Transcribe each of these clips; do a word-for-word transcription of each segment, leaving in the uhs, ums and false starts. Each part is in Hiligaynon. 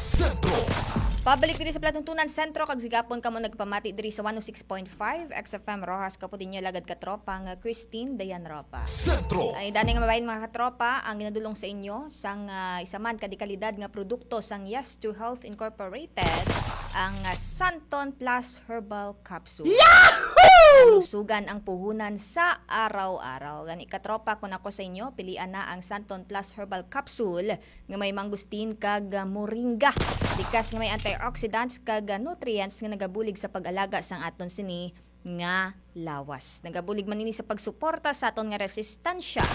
Sentro. Pabalik diri sa Palatuntunan Sentro, kag sigapon kamo nagpamati diri sa one oh six point five X F M Roxas, Capoteño, lagad katropa nga Christine Dayan Ropa. Sentro. Ay, dani nga mabahin, mga katropa, ang ginadulong sa inyo sang, ah, isa man ka dekalidad nga produkto sang Yes to Health Incorporated, ang, ah, Santon Plus Herbal Capsule. Yahoo! Lusugan ang puhunan sa araw-araw. Gani, katropa, kung ako sa inyo, pilian na ang Santon Plus Herbal Capsule nga may mangosteen kag, ah, moringa. Likas nga may antioxidants kag, ah, nutrients nga nagabulig sa pag-alaga sang aton sini nga lawas. Nagabulig man ini sa pagsuporta sa aton nga resistansya,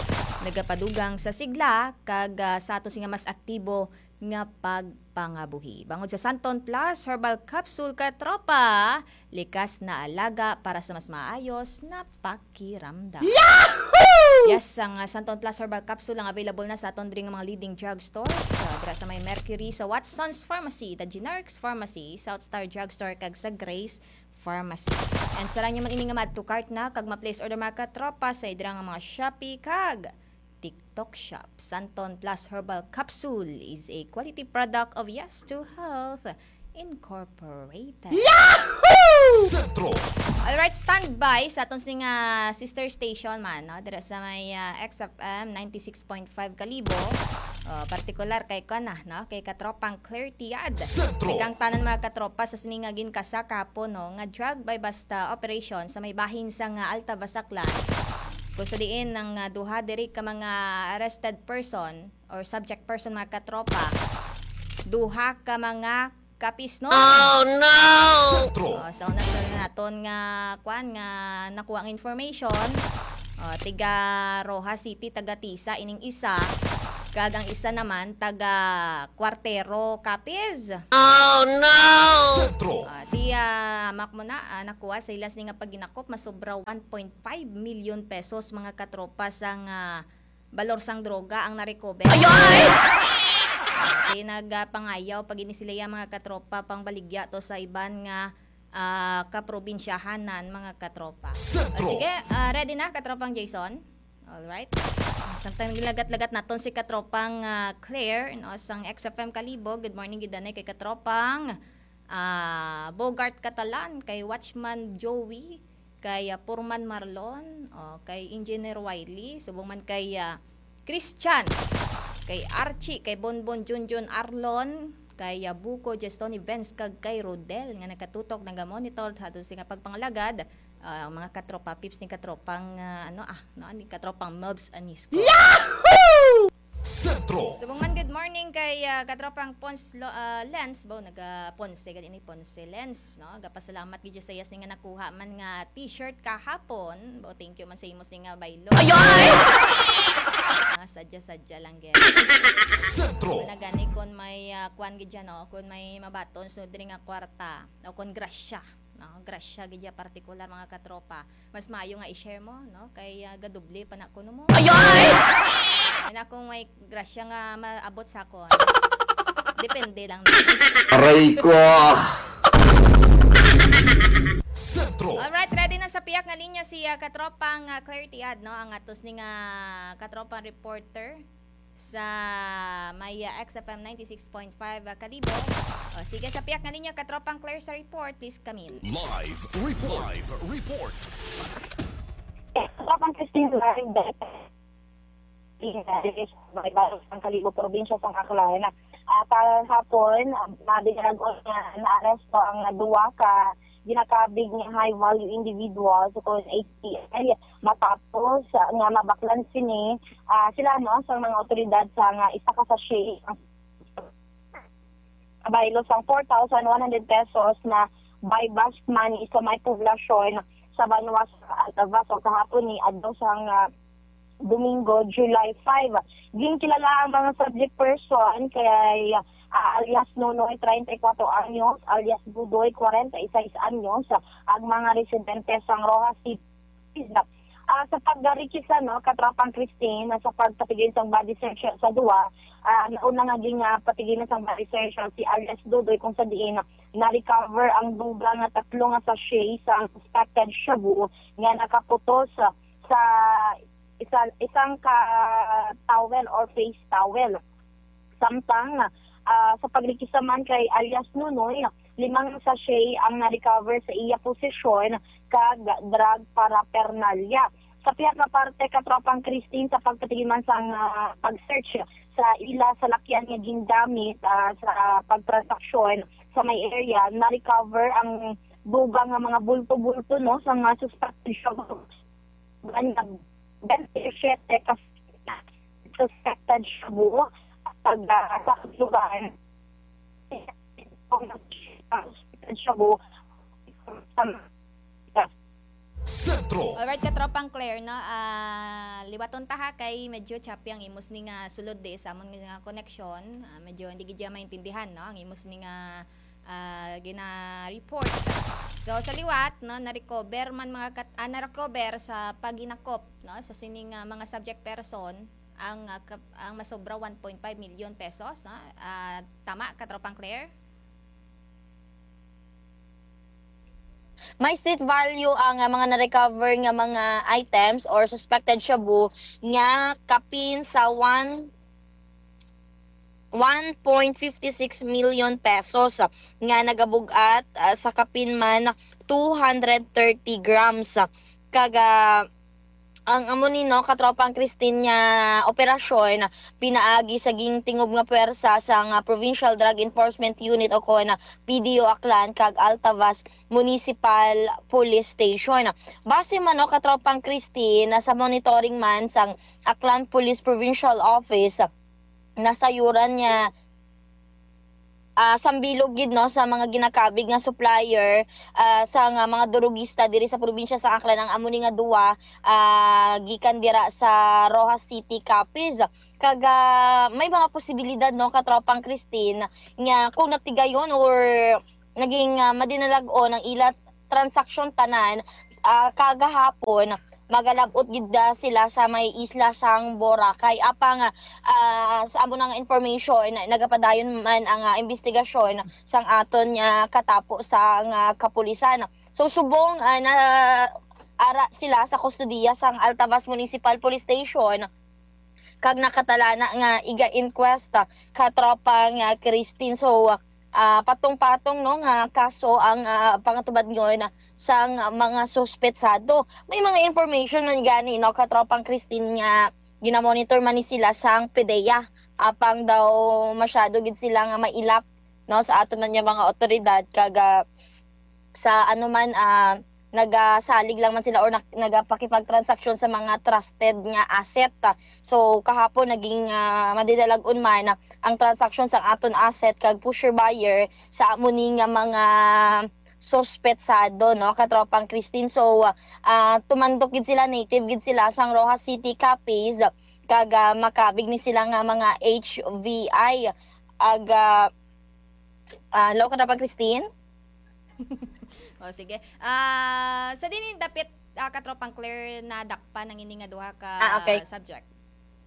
nagapadugang sa sigla kag, ah, sa aton sini nga mas aktibo nga pagpangabuhi. Bangod sa Santon Plus Herbal Capsule, katropa, likas na alaga para sa mas maayos na pakiramdam. Yahoo! Yes, ang, ah, Santon Plus Herbal Capsule ang available na sa aton diri nga mga leading drugstores. Ah, dira sa may Mercury, sa Watson's Pharmacy, The Generics Pharmacy, South Star Drugstore, kag sa Grace Pharmacy. And sarang nyo man ini nga ma-add to cart na kag ma-place order, mga katropa, sa dira nga mga Shopee kag TikTok Shop. Santon Plus Herbal Capsule is a quality product of Yes to Health Incorporated. Yahoo! Sentro. Alright, standby sa aton sini nga sister station man, no? Dira sa may, ah, X F M ninety-six point five Kalibo. Oh, partikular kay kuan na, no? Kay katropang Claire Tiad. Sentro. Ikaw tanan, mga katropa, sa sini nga ginkasa kahapon, no, nga drug buy bust operation sa may bahin sa nga Alta, Basaklan, kung sa diin ang, ah, duha diri ka mga arrested person or subject person, mga katropa, duha ka mga kapis, no? Oh, no! Sentro. Oh, sa una sa naton nga, kwan, nga nakuha ang information, oh, tiga Roxas City, taga Tisa, ining isa, kag ang isa naman, taga Cuartero, Capiz. Oh, no! Sentro. Ah, di, ah, hamak mo na, ah, nakuha sa ila sini nga paghinakop, masobra one point five million pesos, mga katropa, sang, ah, balor sang droga ang na-recover. Ayoy! Ah, di nagpangayaw pa gid ni sila ya, mga katropa, pangbaligya to sa iban nga, ah, kaprobinsyahanan, mga katropa. Sentro. Ah, sige, ah, ready na, katropang Jason? Alright. Samtang gilagat-lagat naton si katropang, ah, Claire, no, sang X F M Kalibo. Good morning gid anay kay katropang, ah, Bogart Catalan, kay Watchman Joey, kay, ah, Foreman Marlon, oh, kay Engineer Wiley, subong man kay, ah, Christian, kay Archie, kay Bonbon Junjun Arlon, kay, ah, Buko Jestoni Benz, kag kay Rodel nga nagkatutok, nagamonitor sa aton sini nga pagpangalagad. Ah, ang mga katropa, peeps ni katropang, ah, ano, ah, no, ni katropang Mobs Anisco. Yahoo! Sentro. Subong man, good morning kay, ah, katropang Pons Lo-, ah, Lens, bo, naga Ponce, gani ni Ponce Lens, no? Gapasalamat gid sa iyas ni nga nakuha man nga t-shirt kahapon. Bo, thank you man sa imos ni nga baylo. Ayoy! Ah, sadya-sadya lang, gid. Sentro. Nagani kon may, ah, kwan gid dyan, no? Kon may mabaton, so diri nga kwarta, o kon grasya. No, grasya gid ya partikular, mga katropa. Mas maayo nga i-share mo, no? Kay, ah, gadoble pa na kuno mo. Ayoy! Ay, na kung may grasya nga maabot sa akon. Depende lang na. Aray ko! Sentro. Alright, ready na sa piyak nga linya si, ah, katropang, ah, Claire Tiad, no? Ang atos ni nga katropang reporter sa may, ah, X F M ninety-six point five, ah, Kalibo. O, sige, sa piyak nga linya, katropang Claire sa report, please come in. Live report. Live report. Katropang Christine, live. May balos ang Kalibo, probinsya sang Aklan. Ah, kahapon, ah, nabigagon nga naaresto ang duwa ka ginakabig nga high value individual sa K N H T I matapos, ah, nga mabaklan sini, ah, sila, no, sa mga otoridad sa nga isa ka sachet ang kabaylo sang four thousand one hundred pesos na buy bust money sa may poblasyon sa banwa sa Altavas sa kahapon ni adlaw sang, ah, Domingo, July five. Ginkilala ang mga subject person kay, ah, alias Nonoy, treinta y cuatro anyos, alias Budoy, cuarenta y seis anyos, ang mga residente sang Roxas City. Ah, sa pagdarikisa, no, katropang Christine, sa pagpatigil sang body search sa duwa, ah, nauna nga gin, ah, patigilan sang body search si alias Dudoy, kung sa diin na-recover ang dugang nga tatlo nga sachet sang suspected shabu nga nakaputos sa isa, isang ka towel or face towel. Samtang, ah, sa pagrekista man kay alias Nonoy, limang sachet ang na-recover sa iya posesyon kag drug paraphernalia. Sa pihak nga parte, Katropang Christine, sa pagpatigiman sang, ah, pag-search sa ila salakyan nga gingamit, ah, sa pagtransaksyon sa may area, na-recover ang dugang nga mga bulto-bulto, no, sa mga suspected shabu. Nga twenty-seven ka suspected shabu, pag, ah, sa lugar, suspected shabu, Sentro. Alright, Katropang Claire, no? Ah, liwaton ta ha, kay medyo choppy ang imos ni nga sulod di sa amon nga koneksyon. Ah, medyo hindi gid siya maintindihan, no? Ang imos ni nga, ah, gina-report. So, sa liwat, no, na-recover man mga kat-, ah, na-recover sa paghinakop, no, sa sining, ah, mga subject person ang, ah, kap-, ang masobra one point five million pesos, no? Ah, tama, Katropang Claire? May street value ang, ah, mga na-recover nga mga items or suspected shabu nga kapin sa one one point fifty six million pesos, ah, nga nagabug-at, ah, sa kapin man two hundred thirty grams. Kag, ah, ang amo ni, no, Katropang Christine, nga operasyon pinaagi sa gintingob nga puwersa sang, ah, Provincial Drug Enforcement Unit o kon, ah, P D O Aklan kag Altavas Municipal Police Station. Base man, no, Katropang Christine, sa monitoring man sang Aklan Police Provincial Office, nasayuran nga, ah, sambilog gid, no, sa mga ginakabig nga supplier, ah, sa nga mga durugista diri sa probinsya sa Aklan ang amo ni nga duwa, ah, gikan dira sa Roxas City, Capiz. Kag, ah, may mga posibilidad, no, Katropang Christine, nga kung natigayon or naging, ah, madinalag-on ang ila transaksyon tanan, ah, kagahapon, magalab-ot gid, ah, sila sa may isla sang Boracay. Apang, ah, sa amo nga information, nagapadayon man ang, ah, investigasyon sang aton nga katapo sang, ah, kapulisan. So, subong, ah, na ara sila sa kustodiya sang Altavas Municipal Police Station kag nakatalana nga iga-inquest, ah, Katropang, ah, Christine. So, ah, patong-patong, no, nga kaso ang, ah, pangatubadngon sang mga suspetsado. May mga information man gani, no, Katropang Christine, nga ginamonitor man ni sila sang PDEA. Apang daw masyado gid sila nga mailap, no, sa aton man nga mga awtoridad kag, ah, sa ano man, ah, nagasalig lang man sila or nag-, nagapakipagtransaksyon sa mga trusted nga asset. So, kahapon naging, ah, madinalag-on man ang transaksyon sang aton asset kag pusher buyer sa amo ni nga mga suspetsado, no, Katropang Christine. So, ah, tumandok gid sila, native gid sila sang Roxas City, Capiz, kag, ah, makabig ni sila nga mga H V I. Ag, ah, ah, hello, Katropang Christine? O, sige. Ah, sa diin dapit, ah, Katropang Claire, nadakpan ang ini nga duha ka Ah, okay. subject?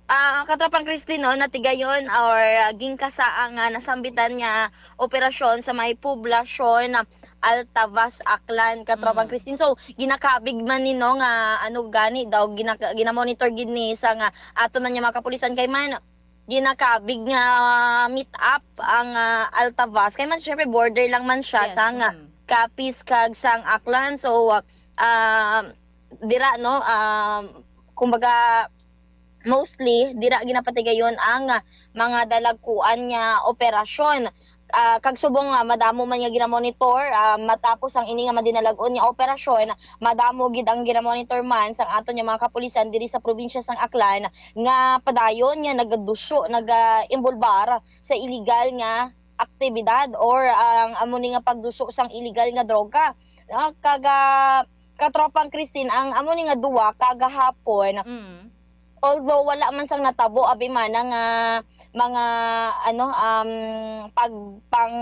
Ah, Katropang Christine, no, natigayon or, ah, gingkasa ang, ah, nasambitan nga operasyon sa may poblasyon, ah, Altavas, Aklan, Katropang Mm. Christine. So, ginakabig man ni, no, nga ano gani daw, ginaka-, ginamonitor gid ni sa nga ato man nga mga kapulisan kay man ginakabig nga meet up ang, ah, Altavas. Kay man, syempre, border lang man siya Yes, sang, ah, mm. Capiz kag sang Aklan. So, ah, dira, no, ah, kumbaga, mostly, dira ginapatigayon ang, ah, mga dalagkuan nga operasyon. Ah, kag subong nga madamo man nga ginamonitor, ah, matapos ang ini nga madinalag-on nga operasyon, madamo gid ang ginamonitor man sang aton nga mga kapulisan diri sa probinsya sang Aklan nga padayon nga nagaduso, nagaimbulbar sa illegal nga aktibidad or ang amo ni nga pagduso sang illegal nga droga. Ah, kaga Katropang Christine, ang amo ni nga duwa kagahapon, Mm. although wala man sang natabo, abi mana nga mga, ano, um, pag, pang,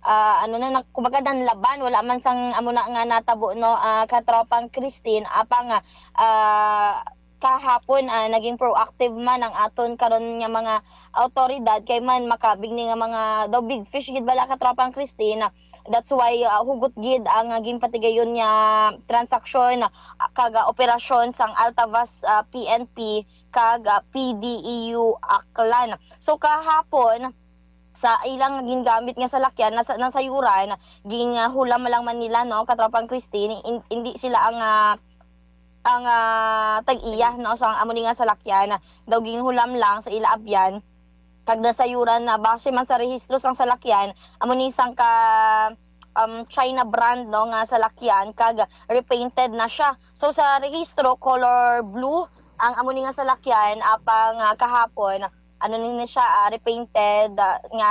ah, ano na, na, kumbaga, nanlaban, wala man sang amo na nga natabo, no, ah, Katropang Christine, apang, ah, kahapon, ah, naging proactive man ang aton karon nga mga awtoridad, kay man makabig ni nga mga daw big fish gid bala, Katropang Christine. That's why, ah, hugot gid ang, ah, ginpatigayon nga transaksyon, ah, kag, ah, operasyon sang Altavas, ah, P N P kag, ah, P D E U Aklan. So, kahapon, sa ilang gingamit nga salakyan, nasa-, nasayuran, ging, ah, hulam lang man nila, no, katropang Christine, in-, hindi sila ang, ah, ang, ah, tag-iya, no, sa amo ni nga salakyan. Daw ginhulam lang sa ila abyan, kag nasayuran na base man sa rehistro sang salakyan, amo ni sang ka, um, China brand, no, nga salakyan, kag repainted na siya. So, sa rehistro, color blue ang amo ni nga salakyan, apang, ah, kahapon, ano ni na siya, ah, repainted, ah, nga,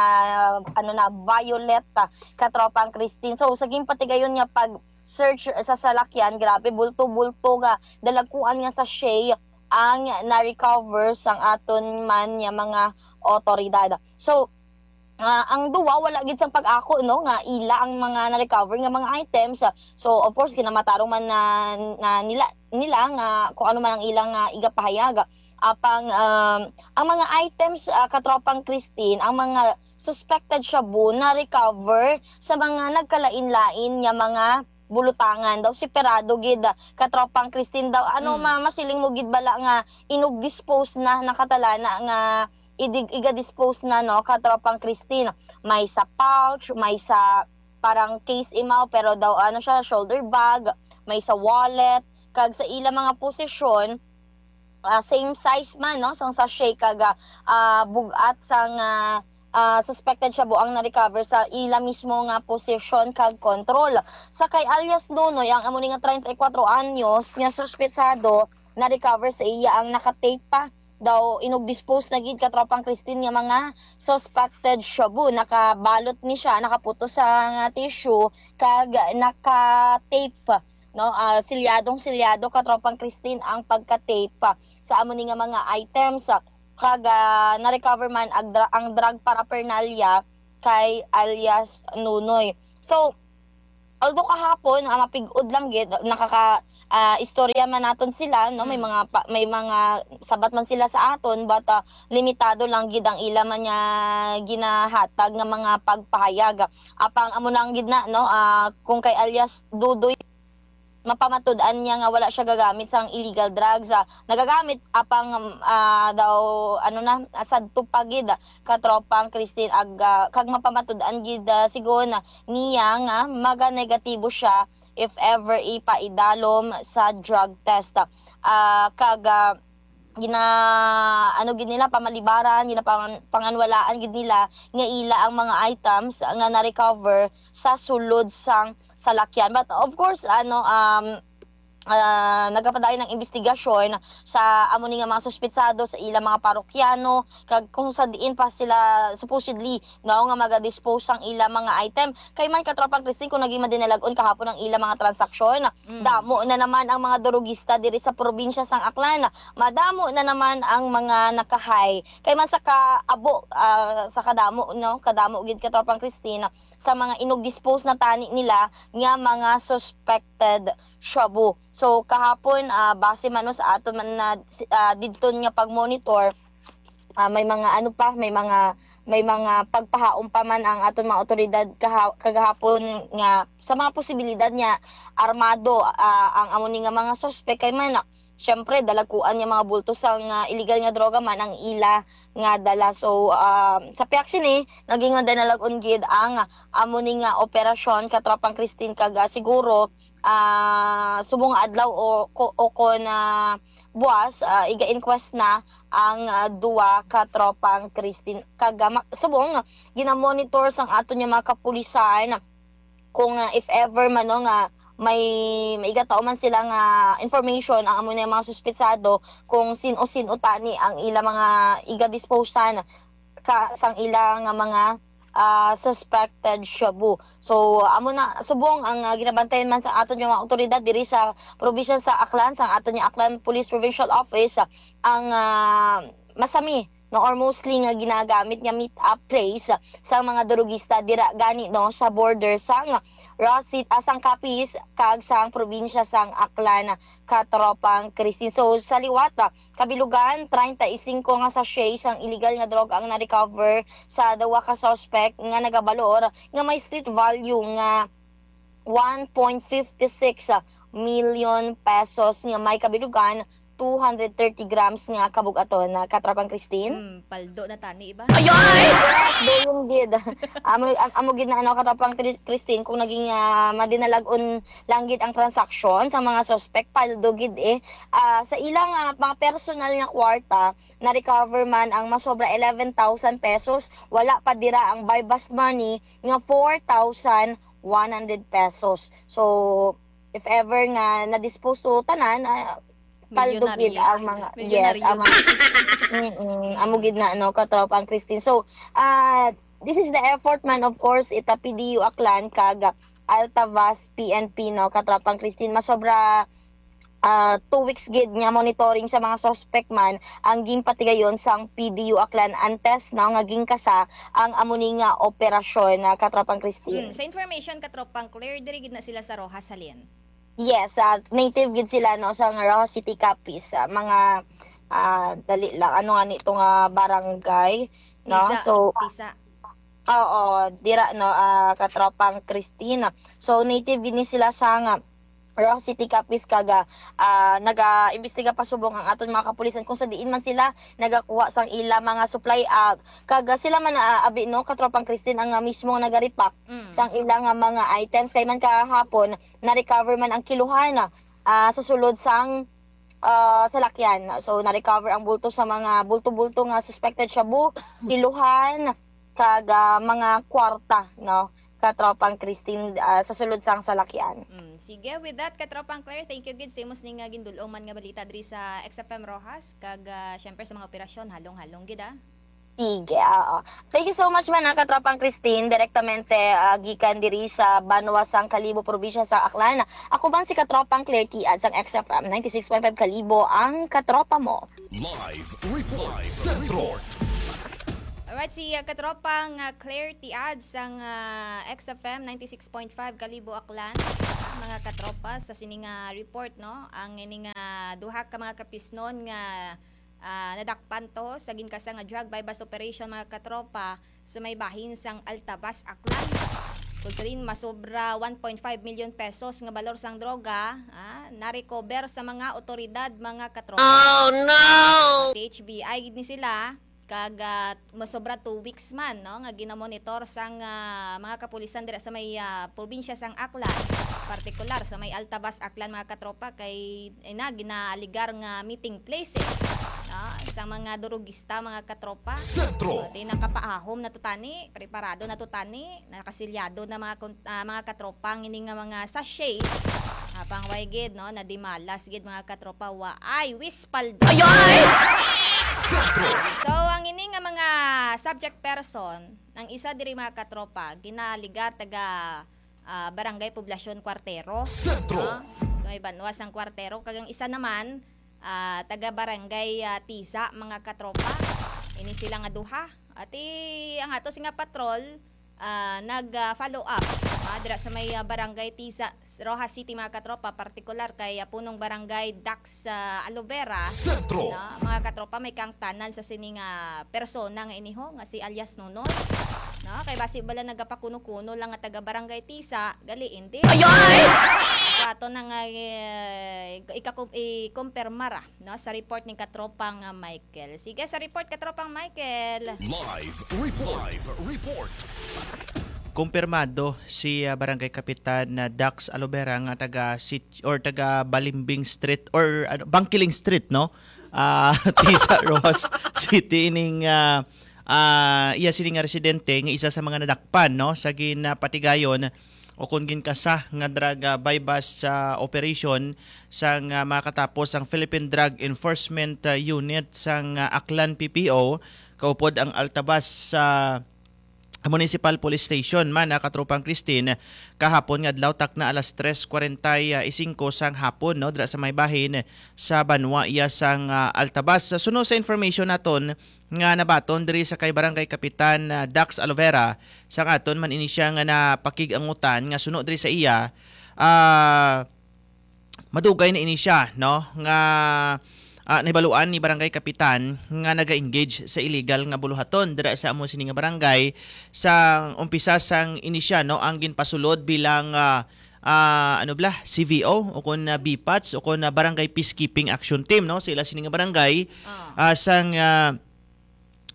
ano na, violet, ah, katropang Christine. So, sa ginpatigayon nga pag-search sa salakyan, grabe, bulto-bulto nga, dalagkuan nga sachet ang na-recover sang aton man nga mga otoridad. So, ah, ang duwa, wala gid sang pag-ako, no, nga ila ang mga na-recover nga mga items. So, of course, ginamatarong man na, na nila, nila nga kung ano man ang ilang, ah, igapahayag. Apang, um, ang mga items, ah, katropang Christine, ang mga suspected shabu na-recover sa mga nagkalain-lain nga mga bulutangan. Daw separado gid, ah, katropang Christine, daw, ano, Mm. ma-, masiling mo gid bala nga inug-dispose na, nakatalana nga idig-, iga-dispose na, no, katropang Christine? May sa pouch, may sa parang case imaw, pero daw, ano siya, shoulder bag, may sa wallet, kag sa ila mga posisyon, ah, same size man, no, sang sachet kag, ah, ah, bug-at sang, ah, ah, suspected shabu ang na-recover sa ila mismo nga posisyon kag control. Sa kay alias Nonoy, ang amo ni nga treinta y cuatro anyos nga suspetsado, na-recover sa iya ang naka-tape pa. Daw inug-dispose na gid, katropang Christine, nga mga suspected shabu. Nakabalot ni siya, nakaputos sa nga tissue, kag naka-tape, no? Ah, silyadong silyado, katropang Christine, ang pagka-tape sa amo ni nga mga items. Kag, ah, na-recover man ang, dra-, ang drug paraphernalia kay alias Nunoy. So, although kahapon, ah, mapig-od lang gid, nakaka-, ah, istorya man naton sila, no? May Mm. mga pa-, may mga sabat man sila sa aton, but, ah, limitado lang gid ang ila man nga ginahatag nga mga pagpahayag. Apang amo lang gid na, no? Ah, kung kay alias Dudoy, mapamatud-an niya nga wala siya gagamit sang illegal drugs. Ah, nagagamit, apang, ah, daw, ano na, ah, sadto pa gid, katropang Christine, ag, ah, kag mapamatud-an gid, ah, sigon niya nga maga-negatibo siya if ever ipaidalom sa drug test. Ah, kag, ah, gina-, ano gid nila, pamalibaran, ginapangan-, panganwalaan gid nila nga ila ang mga items nga na-recover sa sulod sang salakyan. But of course, ano, um, ah, nagapadayon ang investigasyon sa amo ni nga mga suspetsado, sa ilang mga parokyano, kag kung sa diin pa sila supposedly, no, nga maga-dispose sang ilang mga item. Kay man, katropang Christine, kung naging madinalag-on kahapon ang ilang mga transaksyon, Mm. damo na naman ang mga durugista diri sa probinsya sang Aklan. Madamo na naman ang mga nakahay. Kay man sa kaabo, ah, sa kadamo, no, kadamo gid, katropang Christine, sa mga inug-dispose na tani nila nga mga suspected shabu. So, kahapon, ah, base man, no, sa aton man na, ah, didto nga pag-monitor, ah, may mga ano pa, may mga, may mga pagpahaom pa man ang aton mga awtoridad kaha-, kagahapon nga sa mga posibilidad nga armado, ah, ang amo ni nga mga suspek. Kay man, syempre, dalagkuan nga mga bulto sang, ah, illegal nga droga man ang ila nga dala. So, ah, sa pihak sini, naging madinalag-on gid ang amo ni nga operasyon, katropang Christine, kag, ah, siguro, ah, subong nga adlaw o, ko-, o kon, ah, buwas, ah, iga-inquest na ang, ah, duwa ka tropang Christine. Kag, ah, ma-, subong, gina-monitor sang aton nga mga kapulisan kung, ah, if ever man, no, nga may, may igataw man sila nga information ang amo na mga suspetsado kung sin-o-sin-o tani ang ila mga iga-disposan ka, sang ila nga mga, ah, suspected shabu. So, amo na, subong ang, ah, ginabantayan man sa aton nga mga awtoridad diri sa probinsya sa Aklan, sa aton nga Aklan Police Provincial Office, ang, ah, masami, no, or mostly nga ginagamit nga meet-up place sa mga durugista dira gani, no, sa border sang Roxas, ah, sang Capiz kag sang probinsya sang Aklan, katropang Christine. So, sa liwat, ah, kabilugan, treinta y cinco nga sachet sang illegal nga droga ang na-recover sa duwa ka suspect nga nagabalor nga may street value nga one point fifty six million pesos, nga may kabilugan two hundred thirty grams nga kabug-aton na, Katropang Christine. Hmm, paldo na tani, iba? Ay, ay! Yes, doon gid. Amo, am-, amo gid na, ano, Katropang Tri-, Christine, kung naging, ah, madinalag-on lang gid ang transaksyon sa mga suspect, paldo gid eh. Ah, sa ilang, ah, mga personal nga kwarta, na-recover man ang masobra eleven thousand pesos, wala pa dira ang buy-bust money nga four thousand one hundred pesos. So, if ever nga na-dispose to tanan, ah, paldo gid Milyonaryo. Ang mga, yes, Milyonaryo. Ang mga, mm, amo gid na, no, Katropang Christine. So, ah, this is the effort man, of course, ita P D U Aklan kag Altavas P N P, no, Katropang Christine. Masobra, ah, two weeks gid nga monitoring sa mga suspect man ang ginpatigayon sang P D U Aklan antes, no, nga gingkasa ang amo ni nga operasyon, na, Katropang Christine. Hmm, sa information, Katropang Claire, diri gid na sila sa Roxas, halin? Yes, ah, native gid sila, no, sa Roxas City, Capiz. Ah, mga, ah, dali lang. Ano nga ni ito nga barangay, no? Tisa, So, Tisa. Oo, dira, no, ah, Katropang Christine. So, native gid ni sila sa nga Roxas City, Capiz, kag, ah, naga-imbestiga pa subong ang aton mga kapulisan kung sa diin man sila nagakuha sang ila mga supply, ah, kag, ah, sila man, ah, abi, no, Katropang Christine, ang, ah, mismo nagarepack Mm. sang ila nga mga items. Kay man kahapon, na-recover man ang kiluhan, ah, sa sulod sang, ah, salakyan. So, na-recover ang bulto sa mga bulto-bulto nga suspected shabu, kiluhan, kag, ah, mga kwarta, no, Katropang Christine, ah, sa sulod sang salakyan. Mm, sige, with that, Katropang Claire, thank you gid sa imong sining nga gindul-ong man nga balita diri sa X F M Roxas, kag, ah, syempre sa mga operasyon, halong-halong gid, ah. Sige, oo. Thank you so much man, ah, Katropang Christine, direktamente, ah, gikan diri sa banwa sang Kalibo, probinsya sa Aklan. Ako man si Katropang Claire Tiad sang X F M ninety-six point five Kalibo, ang katropa mo. Live report. Live report. Alright, si, uh, katropang, uh, Claire Tiad sang, uh, X F M ninety-six point five Kalibo, Aklan. Mga katropa, sa sining, uh, report, no, ang ining, uh, duha ka mga kapisnon nga, uh, nadakpan to sa ginkasa nga drug buy-bust operation, mga katropa, sa may bahin sang Altavas, Aklan. Kung sa din, masobra one point five million pesos nga balor sang droga, ah, na-recover sa mga otoridad, mga katropa. Oh, no! T H B I gid ni sila, kag, ah, masobra two weeks man, no, nga ginamonitor sang, ah, mga kapulisan dira sa may, ah, probinsya sang Aklan, partikular sa may Altavas, Aklan, mga katropa, kay, eh, na, ginaaligar nga meeting place, eh, no, sa mga durugista, mga katropa. Sentro. Pati nakapaahom na to tani, preparado na to tani, nakasilyado na, mga kon-, ah, mga katropa, ang ini nga mga sachets. Ah, pang way gid, no, nadimalas gid, mga katropa, wa ay wispaldo. Ay, ay! So, ang ini nga mga subject person, ang isa diri, mga katropa, ginaaligar taga, ah, Barangay Poblacion Cuartero. Sentro. No? Sa may banwa sang Cuartero. Kag ang isa naman, ah, taga Barangay, ah, Tisa, mga katropa. Ini sila nga duha. Ati ang ato sing nga patrol, ah, nag, ah, follow up, ah, dira sa may, ah, Barangay Tisa, Roxas City, mga katropa, partikular kay, ah, punong Barangay Dax, ah, Alovera. Sentro. No, mga katropa, may kaangtanan sa sini nga persona nga iniho nga si alias Nonoy. No, kay basi bala nagapakuno-kuno lang nga taga Barangay Tisa, gali indi. Ay, ay! So, ato na nga, eh, ikakum-, ikumpirma ra, no, sa report ni katropang, ah, Michael. Sige, sa report, katropang Michael. Live report. Live report. Kumpirmado si, ah, Barangay Kapitan na Dax Alobera nga taga Sit-, or taga Balimbing Street or, ano, Bangkiling Street, no? Ah, Tisa, Roxas City, ining, ah, ah, iya sini nga residente nga isa sa mga nadakpan, no, sa ginapatigayon o kon ginkasa nga drug, ah, buy-bust sa operation sang, ah, makatapos ang Philippine Drug Enforcement, ah, Unit sang, ah, Aklan P P O, kaupod ang Altavas sa Municipal Police Station man, ah, katropang Christine, kahapon nga adlaw, takna alas tres cuarenta y cinco sang hapon, no, dira sa may bahin sa banwa iya sang, ah, Altavas. Suno sa information naton nga nabaton diri sa kay Barangay Kapitan, ah, Dax Alovera, sang aton man ini siya nga napakig-angutan nga suno diri sa iya, ah, madugay na ini siya, no, nga, ah, nahibaluan ni Barangay Kapitan nga naga-engage sa illegal nga buluhaton dira sa amo sini nga barangay. Sa umpisa sang ini siya, no, ang ginpasulod bilang, ah, ah, ano bala, C V O o kon, ah, B pats o kon, ah, Barangay Peacekeeping Action Team, no, sa ila sini nga barangay, Ah. ah, sang, ah,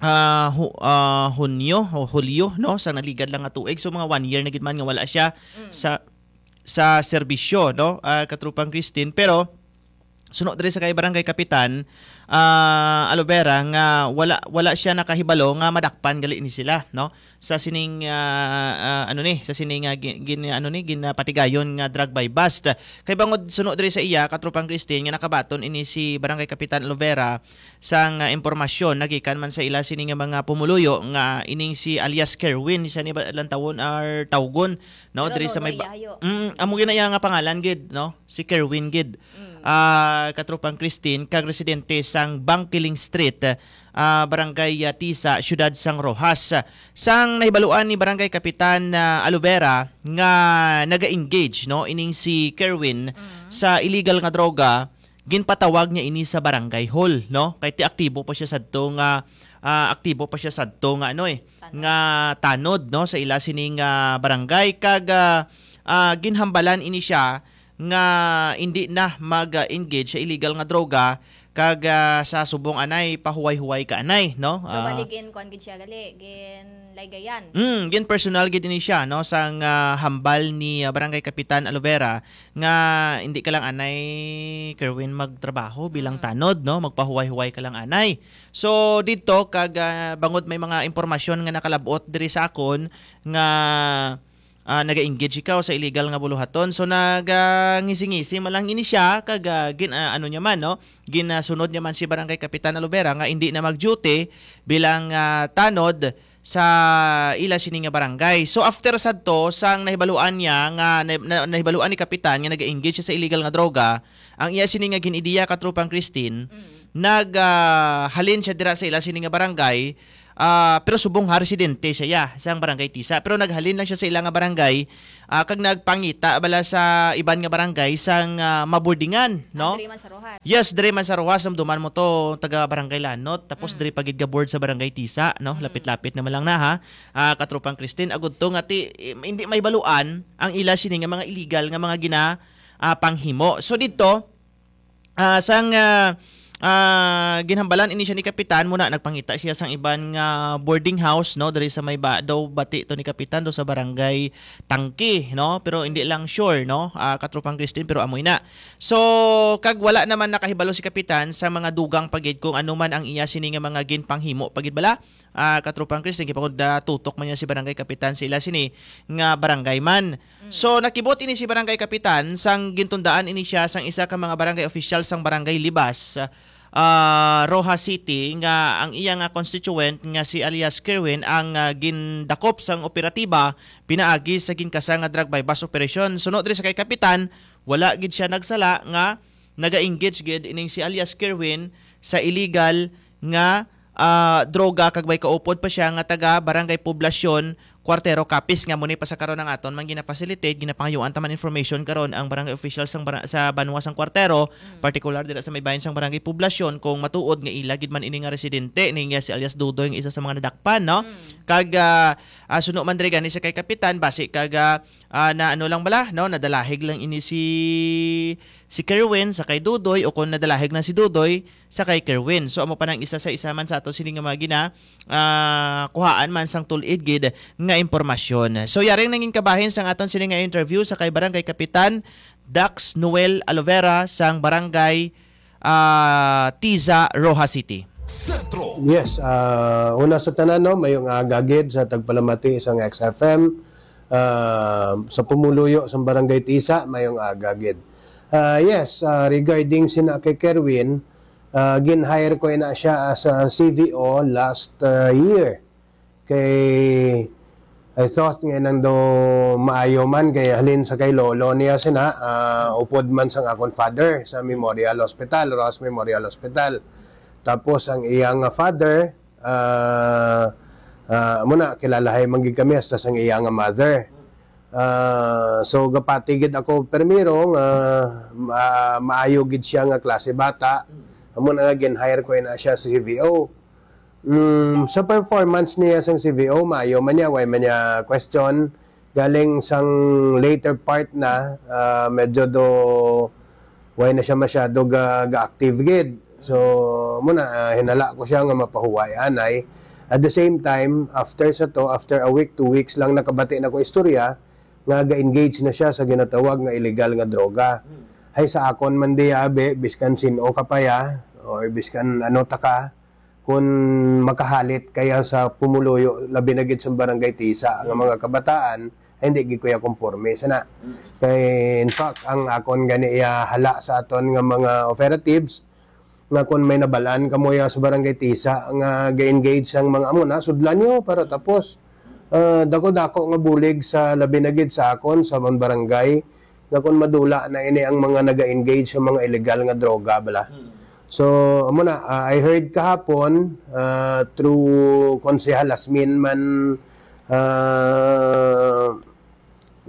ah, Hu-, ah, Hunyo o Hulyo, no, sa naligad lang nga tuig. So, mga one year na gid man nga wala siya Mm. sa, sa serbisyo, no, ah, Katropang Christine. Pero, suno diri sa kay Barangay Kapitan, ah, Alovera, nga wala, wala siya nakahibalo nga madakpan gali ni sila, no? Sa sining, ah, ah, ano ni, sa sining, ah, gi-, gin-, ano ni, ginapatigayon nga drug buy bust. Kay bangod suno diri sa iya, Katropang Christine, nga nakabaton ini si Barangay Kapitan Alovera sang, ah, impormasyon nagikan man sa ila sini nga mga pumuluyo nga ining si alias Kerwin, siya ni ba lantawon or tawgon, no? Pero Diri sa may Nonoy ba-, Yayo. Mm, amo gid na iya nga pangalan gid, no? Si Kerwin gid. Mm. Ah, Katropang Christine, kag residente sang Bangkiling Street, ah, Barangay, ah, Tisa, Siyudad sang Roxas. Sang nahibaluan ni Barangay Kapitan, ah, Alovera nga naga-engage, no, ining si Kerwin Mm. sa illegal nga droga, ginpatawag niya ini sa barangay hall, no? Kay ti aktibo pa siya sadto nga, ah, aktibo pa siya sadto nga ano eh, Tanod. nga tanod, no, sa ila sining, ah, barangay kag, ah, ah, ginhambalan ini siya nga indi na mag-engage sa illegal nga droga kag, ah, sa subong anay pahuway-huway ka anay, no? So, Ah, bali, gin-, kuwan gid siya gali, ginlaygayan. Mm, gin personal gid ini siya, no, sang, ah, hambal ni, ah, Barangay Kapitan Alovera nga hindi ka lang anay, Kerwin, magtrabaho bilang Mm. tanod, no, magpahuway-huway ka lang anay. So, dito kag, ah, bangod may mga impormasyon nga nakalabot diri sa akon nga ah, naga-engage ikaw sa illegal nga buluhaton. So, nagangisi-ngisi man lang ini siya, kag, ah, gin-, ah, ano niya man, no? Ginasunod niya man si Barangay Kapitan Alovera nga hindi na mag-duty bilang, ah, tanod sa ila sini nga barangay. So, after sadto, sang nahibaluan niya nga, na, na, nahibaluan ni Kapitan nga naga-engage siya sa illegal nga droga, ang iya sini nga gin-ideya, Katropang Christine, Mm. nag, ah, halin siya dira sa ila sini nga barangay, ah, pero subong ha residente siya, ya, sang Barangay Tisa. Pero naghalin lang siya sa ila nga barangay, ah, kag nagpangita bala sa iban nga barangay sang, ah, maburdingan, Ah, no? Diri man sa Roxas. Yes, diri man sa Roxas, samduman mo to, taga Barangay Lanot, tapos Mm. diri pa gid ka board sa Barangay Tisa, no? Mm. Lapit-lapit naman lang na, ha? Ah, Katropang Christine, agud to nga ti, eh, hindi mahibaluan ang ila sini nga mga illegal nga mga gina, ah, panghimo. So dito, ah, sang, ah, ah, ginhambalan ini siya ni Kapitan, muna nagpangita siya sang iban nga boarding house, no, diri sa may ba, daw bati to ni Kapitan, daw sa Barangay Tangke, no, pero hindi lang sure, no, ah, Katropang Christine, pero amoy na. So, kag wala naman nakahibalo si Kapitan sa mga dugang pa gid kung ano man ang iya sini nga mga ginpanghimo pa gid bala, ah, Katropang Chris, nagipangod na tutok man niya si Barangay Kapitan sa ila sini nga barangay man. Mm. So, nakibot ini si Barangay Kapitan sang gintundaan ini siya sang isa ka mga barangay official sang Barangay Libas, ah, Roxas City, nga ang iya nga constituent nga si alias Kerwin ang, ah, gindakop sang operatiba pinaagi sa ginkasa nga drug buy-bust operation. Suno diri sa kay Kapitan, wala gid siya nagsala nga naga-engage gid ining si alias Kerwin sa illegal nga, ah, droga, kag may kaupod pa siya nga taga Barangay Poblacion, Cuartero, Capiz, nga muni pa sa karon ang aton man gina-facilitate, ginapangayuan ta man information karon ang barangay officials sang bara-, sa banwa sang Cuartero, Mm. partikular dira sa may bahin sang Barangay Poblacion, kung matuod nga ila gid man ini nga residente, ni nga si alias Dudoy nga isa sa mga nadakpan, no? Mm. Kag, ah, ah, suno man diri gani sa kay Kapitan, basi kag, ah, ah, na ano lang bala, no? Nadalahig lang ini si, si Kerwin sa kay Dudoy, o kung nadalahig na si Dudoy sa kay Kerwin. So, amo pa nang isa sa isa man sa ato sini nga mga gina, ah, kuhaan man sang tulid gid nga impormasyon. So, yaring nangin kabahin sang aton sini nga interview sa kay Barangay Kapitan Dax Noel Alovera sang Barangay, ah, Tiza, Roxas City. Sentro. Yes, ah, una sa tanan, no, mayong aga gid sa tagpalamati sang X F M, ah, sa pumuluyo sang Barangay Tisa, mayong aga gid. Ah, yes, ah, regarding sina kay Kerwin, ah, gin-hire ko ina siya as a C V O last, ah, year. Kay I thought nga nang do maayo man, kay halin sa kay lolo niya sina, ah, upod man sang akon father sa Memorial Hospital, Roxas Memorial Hospital. Tapos ang iyang father, ah, ah, amo na, kilalahay man gid kami hasta sang iya nga mother. Ah, so, gapati gid ako permiro nga ma-, maayo gid siya nga klase bata. Amo na nga gin-hire ko ina siya sa C V O. Mm, sa performance niya sang C V O, maayo man niya, way man niya question. Galing sang later part na, ah, medyo do, why na siya masyado ga, ga-active gid. So, muna, ah, hinala ko siya nga mapahuway anay. At the same time, after sa to, after a week, two weeks lang nakabati na ko istorya, nga ga-engage na siya sa ginatawag nga illegal nga droga. Hmm. Hay sa akon man di, abi, biskan sin-o ka pa ya, or biskan ano ta ka, kun makahalit kaya sa pumuluyo, labi na gid sa barangay Tisa, nga mga kabataan, ay hindi gid kuya konforme sana. Kay, in fact, ang akon gani iya hala sa aton nga mga operatives, nga kun may nabalaan kamo ya sa barangay Tisa nga ga-engage ang mga amo na, sudlan niyo para tapos. Ah, dako-dako nga bulig sa labi na gid sa akon sa amon barangay, nga kun madula na ini ang mga naga-engage sa mga illegal nga droga bala. Hmm. So, amo na, ah, I heard kahapon, ah, through Konsehal Asmin man, ah,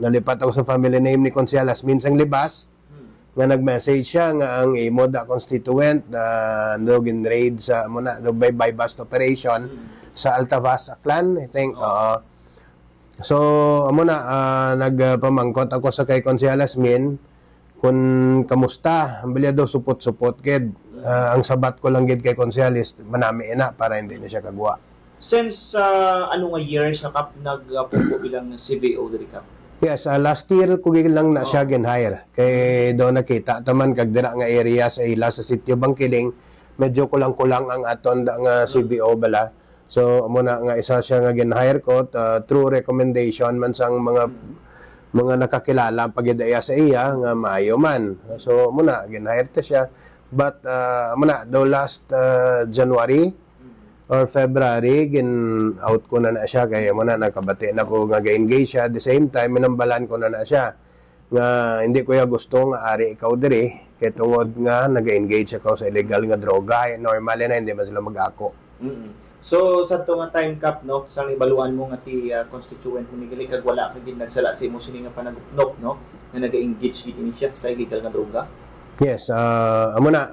nalipat ako sa family name ni Konsehal Asmin sang Libas, Hmm. nga nag-message siya nga ang imo da constituent na no gin-raid sa, amo na, no, by, by bust operation Hmm. sa Altavas, Aklan, I think. Oo. Oo. So, amo na, ah, nagpamangkot ako sa kay Konsehal Asmin kung kamusta. Ang bilya daw supot-supot gid. Ah, ang sabat ko lang gid kay Konsehal is manami na para hindi na siya kagwa. Since, ah, ano nga year siya, Kap, nagpungko bilang C V O diri, Kap? Yes, ah, last year ko gid lang na siya Oh. gin-hire. Kay do nakita taman kag dira nga area sa ila sa Sitio Bangkiling, medyo kulang-kulang ang aton da nga C V O bala. So, amo na nga isa siya nga gin-hire ko, ah, through recommendation man sang mga, mga nakakilala pa gid iya sa iya nga maayo man. So, amo na, gin-hire ta siya. But, ah, amo na, daw last, ah, January or February, gin-out ko na na siya. Kay amo na, nakabati na ko nga ga-engage siya. At the same time, minambalan ko na na siya nga hindi ko ya gusto nga ari ikaw diri, kay tungod nga naga-engage ikaw sa illegal nga droga, eh, normal na, hindi man sila mag-ako. Mm-mm. So, sa to nga time, Kap, no, sang ibaluan mo nga ti, ah, constituent mo ni gali, kag wala ka gid nagsala sa imo sini nga panagupnop, no, nga naga-engage gid ini siya sa illegal nga droga? Yes, ah, amo na,